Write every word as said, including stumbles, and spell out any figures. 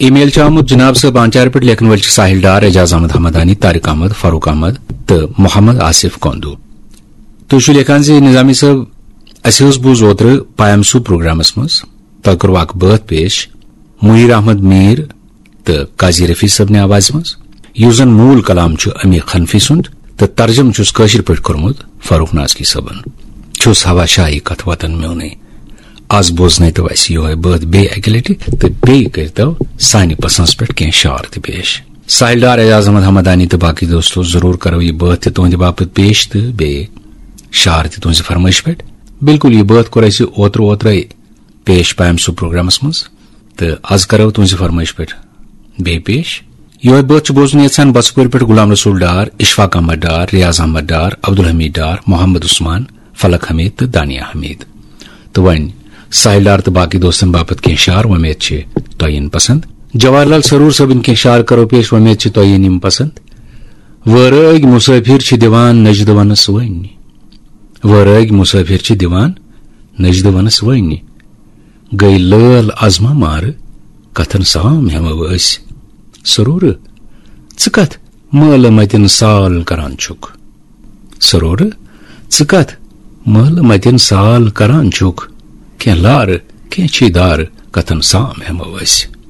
ای میل چھُ آمُت جناب صٲب آنچار پٮ۪ٹھ، لیکھن وٲلۍ چھِ ساحل ڈار، اعجاز احمد حمدانی، طارق احمد، فاروق احمد تہٕ محمد آصف کندو۔ تُہۍ چھِو لیکھان زِ نظامی صٲب، اَسہِ حظ بوٗز اوترٕ پایام سوٗ پروگرامس منٛز، تۄہہِ کوٚروٕ اکھ بٲتھ پیش منیر احمد میر تہٕ قاضی رفیع صٲبنہِ آوازِ منٛز، یُس زن موٗل کلام چھُ امیٖر حنفی سُنٛد تہٕ ترجمہٕ چھُس کٲشِر پٲٹھۍ کوٚرمُت فاروق نازکی صٲبن۔ چھُس ہوا شاہی کتھ وطن میونٕے۔ از بوزنٲوتو اَسہِ یِہوٚے بٲتھ بیٚیہِ اَکہِ لٹہِ تہٕ بیٚیہِ کٔرۍتو سانہِ پسنٛز پٮ۪ٹھ کینٛہہ شعر تہِ پیش۔ ساحل ڈار، اعجاز احمد حمدانی تہٕ باقٕے دوستو، ضروٗر کرو یہِ بٲتھ تہِ تُہنٛدِ باپتھ پیش تہٕ بیٚیہِ شعر تہِ تُہنٛزِ فرمٲیشہِ پٮ۪ٹھ۔ بِلکُل، یہِ بٲتھ کوٚر اَسہِ اوترٕ اوترَے پیش پایام سوٗ پروگرامس منٛز، تہٕ از کرو تُہنٛزِ فرمٲیشہِ پٮ۪ٹھ بیٚیہِ پیش۔ یِہوٚے بٲتھ چھُ بوزُن یژھان بسپورِ پٮ۪ٹھ غلام رسول ڈار، اشفاق احمد ڈار، ریاض احمد ڈار، عبدالحمید ڈار، محمد عثمان، فلک حمید تہٕ دانیہ حمید۔ تہٕ وۄنۍ ساحل ڈار تہٕ باقٕے دوستن باپتھ کینٛہہ شعر، وۄمید چھِ تۄہہِ یِن پسند۔ جواہر لال سرور صٲبٕنۍ کینٛہہ شعر کرو پیش، وۄمید چھِ تۄہہِ یِن یِم پسند۔ وٲرٲگۍ مسٲفِر چھِ دِوان نجدٕ ونس وٲنۍ۔ وٲرٲگۍ مسٲفِر چھِ دِوان نجدٕ ونس وٲنۍ۔ گٔے لٲل از ما مارٕ، کتھن سام ہٮ۪مو أسۍ۔ سرورٕ، ژٕ کتھ مٲلہٕ متٮ۪ن سال کران چھُکھ؟ سرورٕ، ژٕ کتھ مٲلہٕ متٮ۪ن سال کران چھُکھ؟ کینٛہہ لارٕ، کینٛہہ چھی دارٕ، کتھن سام ہٮ۪مو أسۍ۔